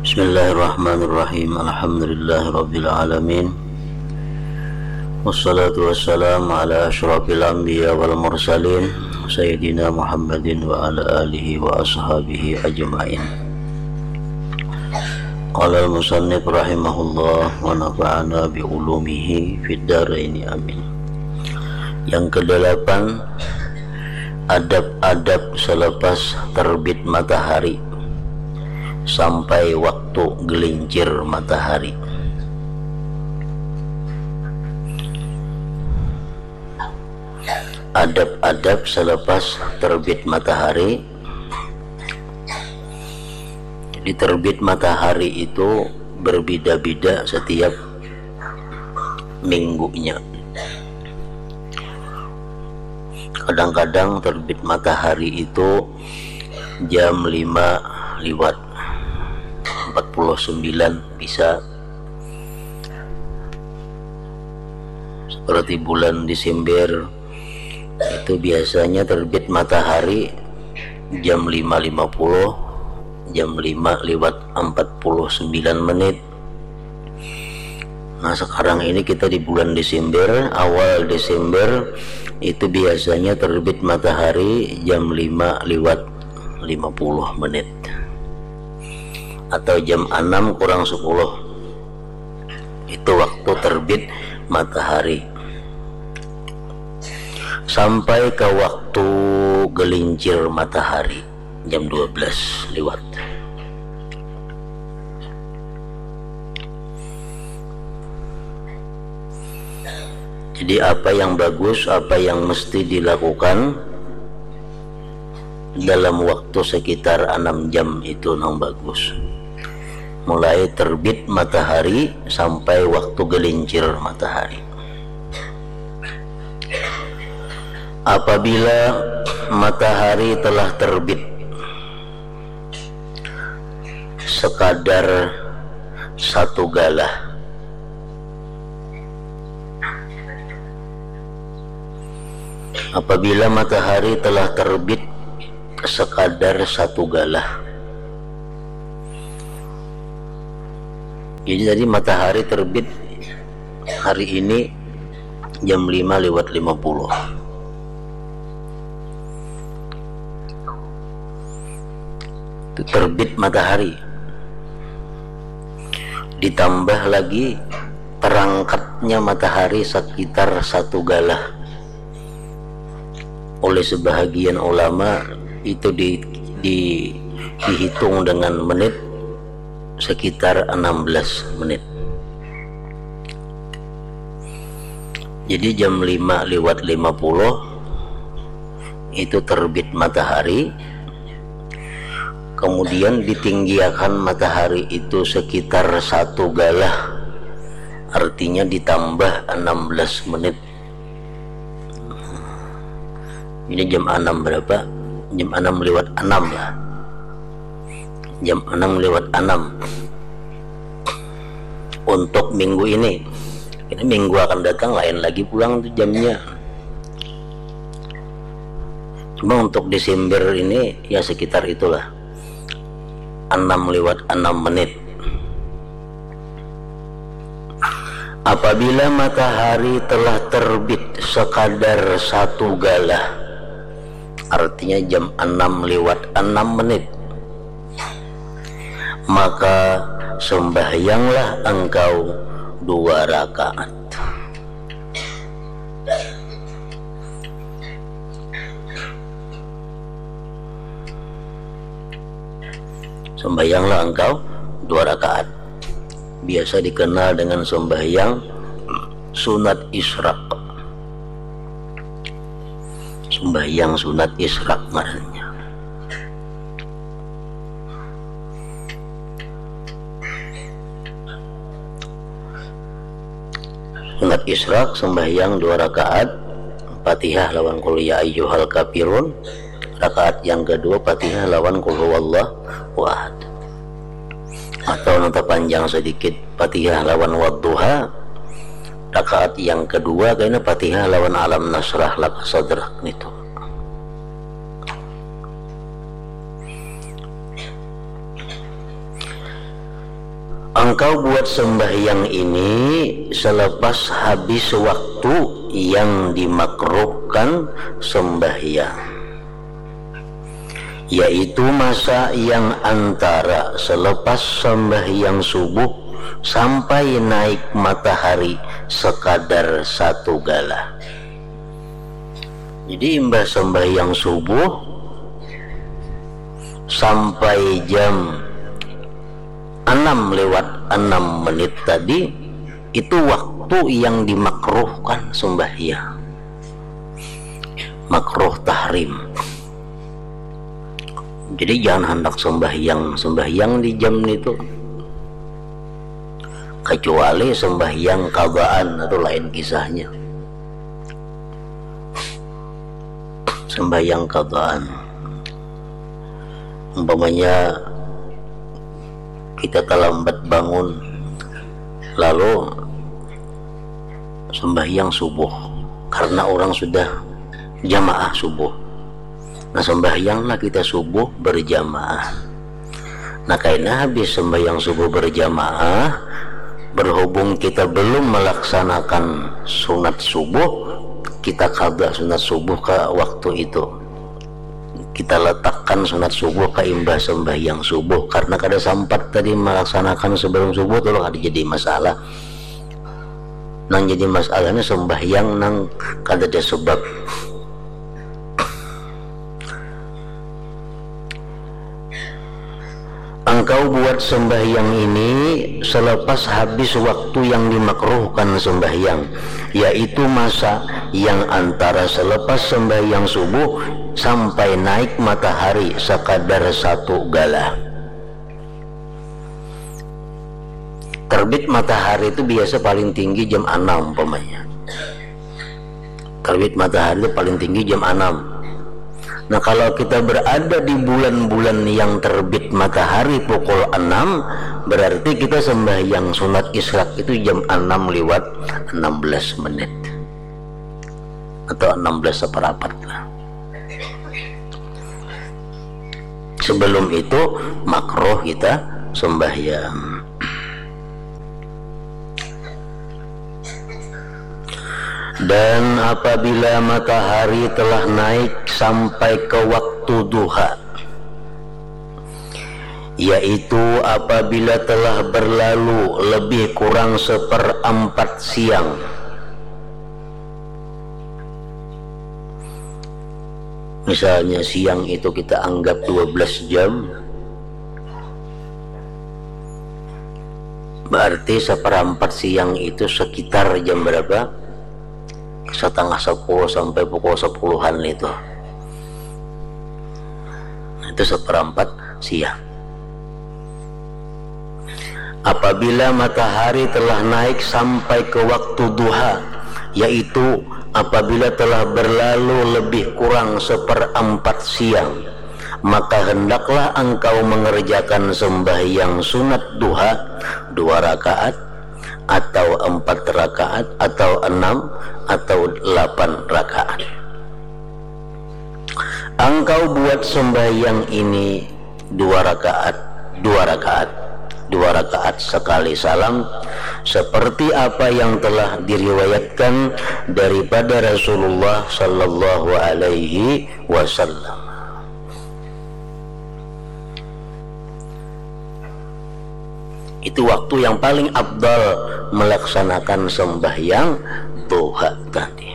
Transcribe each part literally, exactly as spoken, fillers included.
Bismillahirrahmanirrahim. Alhamdulillahirabbil alamin. Wassalatu wassalamu ala asyrafil anbiya wal mursalin, sayyidina Muhammadin wa ala alihi wa ashabihi ajmain. Qala al-musannif rahimahullah wa nafa'ana bi ulumihi fid daraini, amin. Yang kedelapan, adab-adab selepas terbit matahari sampai waktu gelincir matahari. Adab-adab selepas terbit matahari. Jadi, terbit matahari itu berbeda-beda setiap minggunya. Kadang-kadang terbit matahari itu jam lima liwat empat puluh sembilan bisa. Seperti bulan Desember, itu biasanya terbit matahari jam lima lima puluh, jam lima liwat empat puluh sembilan menit. Nah, sekarang ini kita di bulan Desember, awal Desember, itu biasanya terbit matahari jam lima liwat lima puluh menit. Atau jam enam kurang sepuluh. Itu waktu terbit matahari. Sampai ke waktu gelincir matahari, jam dua belas liwat. Jadi, apa yang bagus, apa yang mesti dilakukan dalam waktu sekitar enam jam itu nang bagus. Mulai terbit matahari sampai waktu gelincir matahari. Apabila matahari telah terbit sekadar satu galah, apabila matahari telah terbit sekadar satu galah. Jadi, tadi matahari terbit hari ini jam lima lewat lima puluh. Itu terbit matahari. Ditambah lagi terangkatnya matahari sekitar satu galah. Oleh sebahagian ulama, itu di, di, dihitung dengan menit, sekitar enam belas menit. Jadi, jam lima lewat lima puluh itu terbit matahari. Kemudian ditinggiakan matahari itu sekitar satu galah, artinya ditambah enam belas menit. Ini jam enam berapa? Jam enam lewat enam lah. Jam enam lewat enam untuk minggu ini. Ini minggu akan datang lain lagi pulang tuh jamnya. Cuma untuk Desember ini ya sekitar itulah. Enam lewat enam menit. Apabila matahari telah terbit sekadar satu galah, artinya jam enam lewat enam menit, maka sembahyanglah engkau dua rakaat. Sembahyanglah engkau dua rakaat. Biasa dikenal dengan sembahyang sunat isyraq. Sembahyang sunat isyraq ngarannya. Sunat isyraq, sembahyang dua rakaat, Fatihah lawan Qul ya ayyuhal kafirun, rakaat yang kedua Fatihah lawan Qul huwallahu ahad. Atau nang tapanjang sedikit, Fatihah lawan Wadduha, rakaat yang kedua kena Fatihah lawan Alam Nasyrah laka sadrak nitu. Engkau buat sembahyang ini selepas habis waktu yang dimakruhkan sembahyang, yaitu masa yang antara selepas sembahyang subuh sampai naik matahari sekadar satu gala. Jadi imbah sembahyang subuh sampai jam enam lewat enam menit tadi, itu waktu yang dimakruhkan sembahyang. Makruh tahrim. Jadi jangan hendak sembahyang, sembahyang di jam itu. Kecuali sembahyang qadaan, itu lain kisahnya. Sembahyang qadaan. Umpamanya kita terlambat bangun, lalu sembahyang subuh karena orang sudah jamaah subuh. Nah, sembahyanglah kita subuh berjamaah. Nah, kaina habis sembahyang subuh berjamaah, berhubung kita belum melaksanakan sunat subuh, kita qada sunat subuh ke waktu itu. Kita letakkan sunat subuh ke imbah sembahyang subuh karena kada sempat tadi melaksanakan sebelum subuh tu, kada jadi masalah. Nang jadi masalahnya sembahyang nang kada ada sebab. Engkau buat sembahyang ini selepas habis waktu yang dimakruhkan sembahyang, yaitu masa yang antara selepas sembahyang subuh sampai naik matahari sekadar satu gala. Terbit matahari itu biasa paling tinggi jam enam umpamanya. Terbit matahari itu paling tinggi jam enam. Nah, kalau kita berada di bulan-bulan yang terbit matahari pukul enam, berarti kita sembahyang sunat isyraq itu jam enam lewat enam belas menit. Atau enam belas seperapat lah. Sebelum itu makruh kita sembahyang. Dan apabila matahari telah naik sampai ke waktu duha, yaitu apabila telah berlalu lebih kurang seperempat siang. Misalnya siang itu kita anggap dua belas jam, berarti seperempat siang itu sekitar jam berapa? Setengah sepuluh sampai pukul sepuluhan itu. Itu seperempat siang. Apabila matahari telah naik sampai ke waktu duha, yaitu apabila telah berlalu lebih kurang seperempat siang, maka hendaklah engkau mengerjakan sembahyang sunat duha dua rakaat, atau empat rakaat, atau enam, atau delapan rakaat. Engkau buat sembahyang ini dua rakaat, dua rakaat, dua rakaat sekali salam, seperti apa yang telah diriwayatkan daripada Rasulullah sallallahu alaihi wasallam. Itu waktu yang paling afdal melaksanakan sembahyang duha tadi.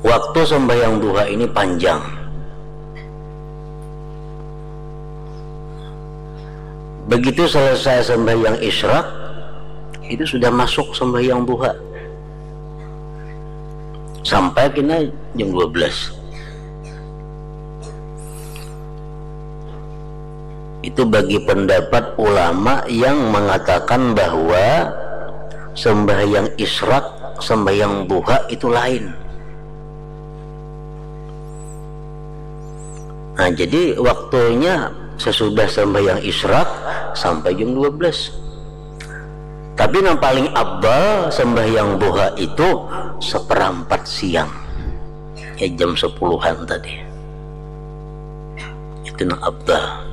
Waktu sembahyang duha ini panjang. Begitu selesai sembahyang isyraq, itu sudah masuk sembahyang duha. Sampai kena jam dua belas. Itu bagi pendapat ulama yang mengatakan bahwa sembahyang isyraq, sembahyang duha itu lain. Nah, jadi waktunya sesudah sembahyang isyraq sampai jam dua belas. Tapi yang paling afdal sembahyang duha itu seperempat siang. Ya, jam sepuluhan tadi. Itu yang afdal.